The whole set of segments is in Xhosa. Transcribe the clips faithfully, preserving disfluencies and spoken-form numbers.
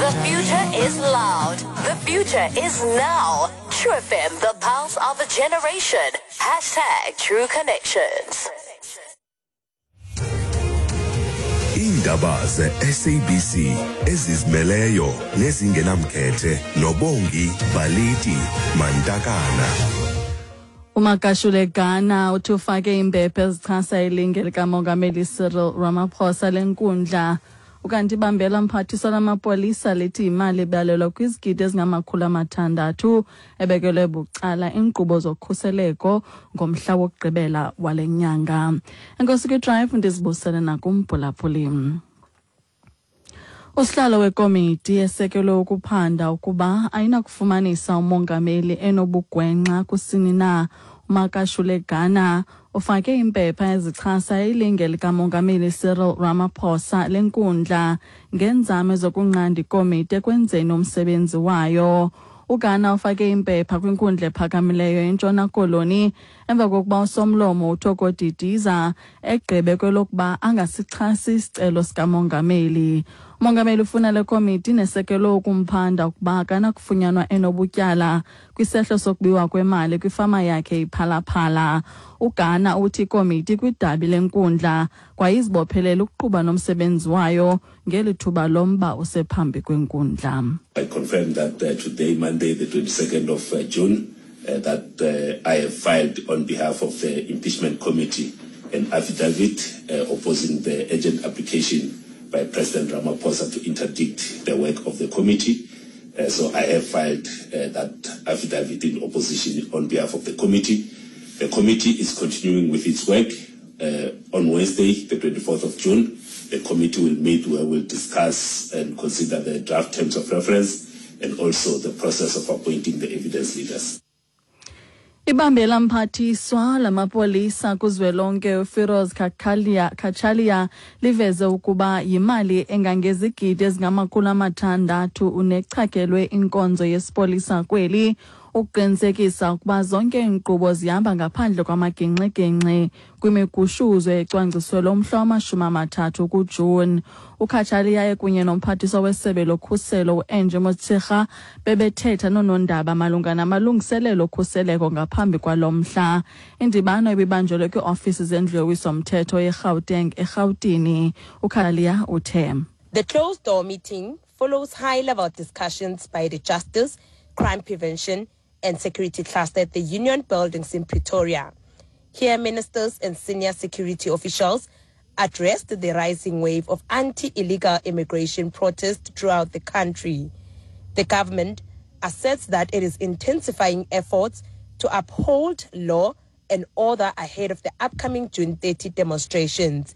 The future is loud. The future is now. True F M, the pulse of a generation. Hashtag True Connections. Iindaba ze-S A B C ezizimeleyo nezingenamkhethe noBongi Baliti Mantakana. UMakashule Gana uthi ufake iimpepha ezichasa ilinge likaMongameli Cyril Ramaphosa lenkundla. Ukanti ibambela mphathiswa lamapolisa lithi imali ebalelwa kwizigidi ezingamakhulu amathandathu ebekelwe bucala iinkqubo zokhuseleko ngomhla wokugqibela wale nyanga. Enkosi kwiDrive, ndizibusele nakumphulaphuli. Usihlalo wekomiti esekelwe ukuphanda ukuba ayinakufumanisa umongameli enobugwenxa kusini na, uMakashule Gana, ufake iimpepha ezichasa ilinge likaMongameli Cyril Ramaphosa lenkundla ngeenzame zokunqanda ikomiti ekwenzeni umsebenzi wayo. uGana ufake iimpepha kwinkundla ephakamileyo eNtshona Koloni emva kokuba usomlomo uThoko Didiza egqibe kwelokuba angasixhasi isicelo sikamongameli. Umongameli ufuna le komiti nesekelwe ukumphanda ukuba akanakufunyanwa enobutyala kwisehlo sokubiwa kwemali kwifama yakhe iPhalaphala. uGana uthi ikomiti kwidabi lenkundla kwayizibophelela ukuqhuba nomsebenzi wayo ngeli thuba lomba usephambi kwenkundla. I confirm that uh, today, Monday, the twenty-second of uh, June, uh, that uh, I have filed on behalf of the impeachment committee an affidavit uh, opposing the urgent application by President Ramaphosa to interdict the work of the committee. Uh, so I have filed uh, that affidavit in opposition on behalf of the committee. The committee is continuing with its work. Uh, on Wednesday, the twenty-fourth of June, the committee will meet where we'll discuss and consider the draft terms of reference and also the process of appointing the evidence leaders. Ibambela mphathiswa lamapolisa kuzwelonke uFiroz Kachalia Kachalia liveze ukuba yimali engangezigidi ezingamakhulu amathandathu unechakelwe inkonzo yesipolisa kweli ukuqinisekisa ukuba zonke iinkqubo zihamba ngaphandle kwamagingxigingxi kwimigushuzo ecwangciselwe lomhla wamashumi amathathu kuJuni. uKhachalia kunye nomphathiswa wesebe lokhuselo uAngie Motshekga bebethetha noonondaba malunga namalungiselelo okhuseleko ngaphambi kwalo mhla. Indibano ibibanjelwe kwiiofisi zendlu yowiso-mthetho yeGauteng eRhawutini. uKhachalia uthe The closed-door meeting follows high-level discussions by the Justice, Crime Prevention and Security Cluster at the Union Buildings in Pretoria. Here, ministers and senior security officials addressed the rising wave of anti-illegal immigration protests throughout the country. The government asserts that it is intensifying efforts to uphold law and order ahead of the upcoming June thirtieth demonstrations.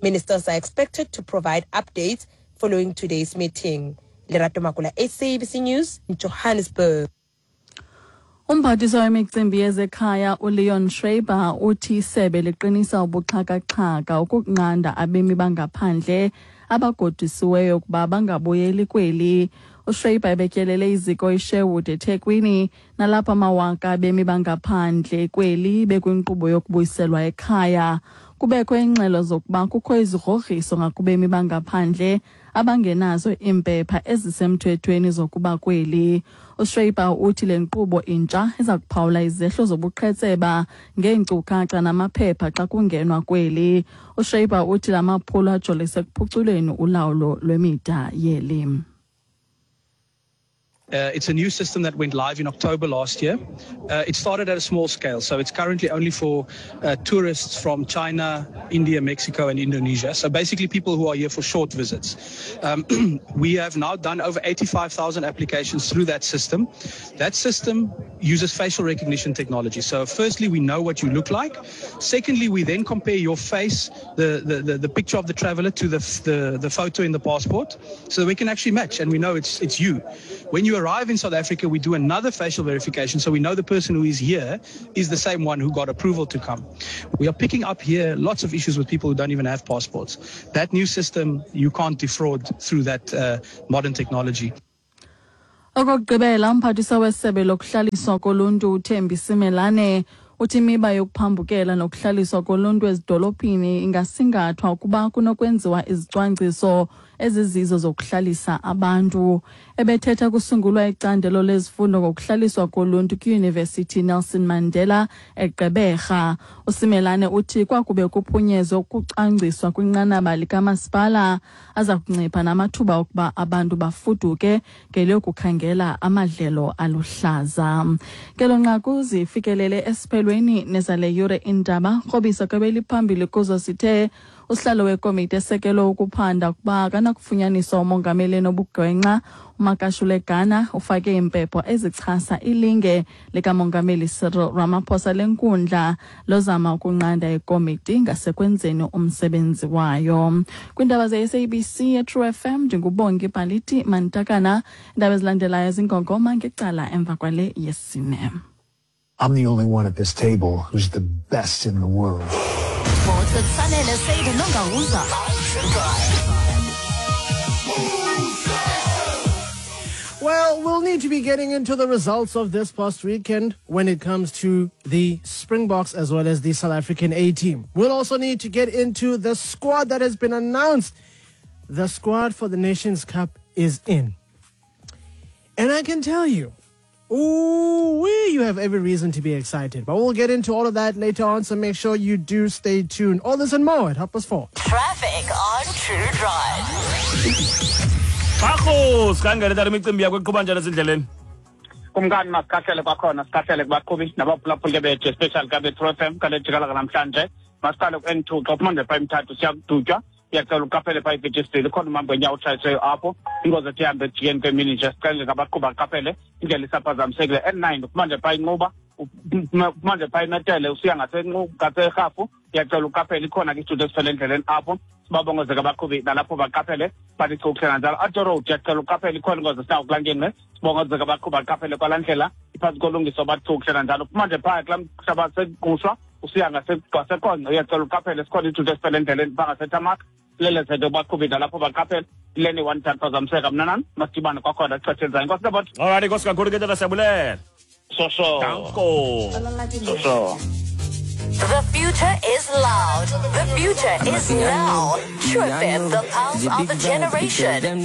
Ministers are expected to provide updates following today's meeting. Lerato Makula, S A B C News, in Johannesburg. Umphathiswa wemicimbi yezekhaya uLeon Schreiber uthi isebe liqinisa ubuxhakaxhaka ukunqanda abemi bangaphandle abagodisiweyo ukuba bangabuyeli kweli. uSchreiber ebetyelele iziko iSherwood eThekwini nalapho amawaka abemi bangaphandle kweli bekwinkqubo yokubuyiselwa ekhaya. Kubekho iingxelo zokuba kukho izigrogriso ngakubemi bangaphandle abangenazo iimpepha ezisemthethweni zokuba kweli. uSchreiber uthi le nkqubo intsha iza kuphawula izehlo zobuqhetseba ngeenkcukacha namaphepha xa kungenwa kweli. uSchreiber uthi la maphulo ajolise ekuphuculeni ulawulo lwemida yeli. Uh, it's a new system that went live in October last year. Uh, it started at a small scale, so it's currently only for uh, tourists from China, India, Mexico, and Indonesia. So basically people who are here for short visits. Um, we have now done over eighty-five thousand applications through that system. That system uses facial recognition technology. So firstly, we know what you look like. Secondly, we then compare your face, the, the, the, the picture of the traveler, to the, the, the photo in the passport, so that we can actually match and we know it's, it's you. When you arrive in South Africa, we do another facial verification, so we know the person who is here is the same one who got approval to come. We are picking up here lots of issues with people who don't even have passports. That new system, you can't defraud through that uh, modern technology. Okokugqibela, umphathiswa wesebe lokuhlaliswa koluntu uThembi Simelane uthi imiba yokuphambukela nokuhlaliswa koluntu ezidolophini ingasingathwa ukuba kunokwenziwa izicwangciso ezizizo zokuhlalisa abantu. Ebethetha kusungulwa icandelo lezifundo ngokuhlaliswa koluntu kwiYunivesithi Nelson Mandela eGqeberha. USimelane uthi kwakube kuphunyezwe ukucwangciswa kwinqanaba likamasipala aza kuncipha namathuba okuba abantu bafuduke ngeliyokukhangela amadlelo aluhlaza. Ngelo nqaku zifikelele esiphelweni nezale yure indaba. Krobisa kwebeliphambili kuzo sithe usihlalo wekomiti esekelwe ukuphanda ukuba akanakufunyaniswa umongameli enobugwenxa uMakashule Gana ufake iimpepho ezichasa ilinge likamongameli Cyril Ramaphosa lenkundla lozama ukunqanda ikomiti ngasekwenzeni umsebenzi wayo. Kwiindaba ze-S A B C ye-True F M ndinguBongi Baliti Mantakana. Iindaba ezilandelayo zingongoma ngecala emva kwale yesine. I'm the only one at this table who's the best in the world. Sports with Sanele Seide Nongawuza. Well, we'll need to be getting into the results of this past weekend when it comes to the Springboks as well as the South African A team. We'll also need to get into the squad that has been announced. The squad for the Nations Cup is in. And I can tell you, ooh, we, you have every reason to be excited. But we'll get into all of that later on, so make sure you do stay tuned. All this and more at half past four. Traffic on True Drive. Bakho, sikhangele tata imicimbi yakho eqhuba njani ezindleleni? Kumkani masikhahlele kwakhona, sikhahlele kubaqhubi nabaphulaphuli bethu, especially kabe True F M kale jikalaka namhlanje. Masiqale ku-N two xa uphuma nje phaa eMthatha usiya kuDutywa, uyacela uqaphele phaa iVitchesville, ikhona umhambo wenyawo otshayisiweyo apho. Ingozi ethi ihambe ejikeni kwemini nje, sicele ngabaqhubi baqaphele indlela isaphazamisekile. N nine uphuma nje phaa iNquba, uphuma nje phaa iMetele usiya ngaseRhafu, uyacela uqaphele, ikhona ke isithuthi esifele endleleni apho. Sibabongozeke abaqhubi nalapho baqaphele bathi chukuhle kanjalo. Ato Road uyacela uqaphele, ikhona ingozi esinawo kulaa ngingqi, sibongozeke abaqhubi baqaphele kwalaa ndlela iphantsi kolungiso bathi chukuhle kanjalo. Uphuma nje phaa kulaa mhlaba seGqushwa usiya ngaseQonce, uyacela uqaphele, sikhona isithuthi esifele endleleni phaa ngaseTamak. Lelezeke baqhubi nalapho baqaphele. Leni one time phazamiseka mna nani masidibane kwakhona ixesha elizayo. Nkosi Nabot. All right, nkosi kakhulu ke tata, siyabulela. So so. Danko. So so. The future is loud. The future is now. True F M, the pulse of a generation.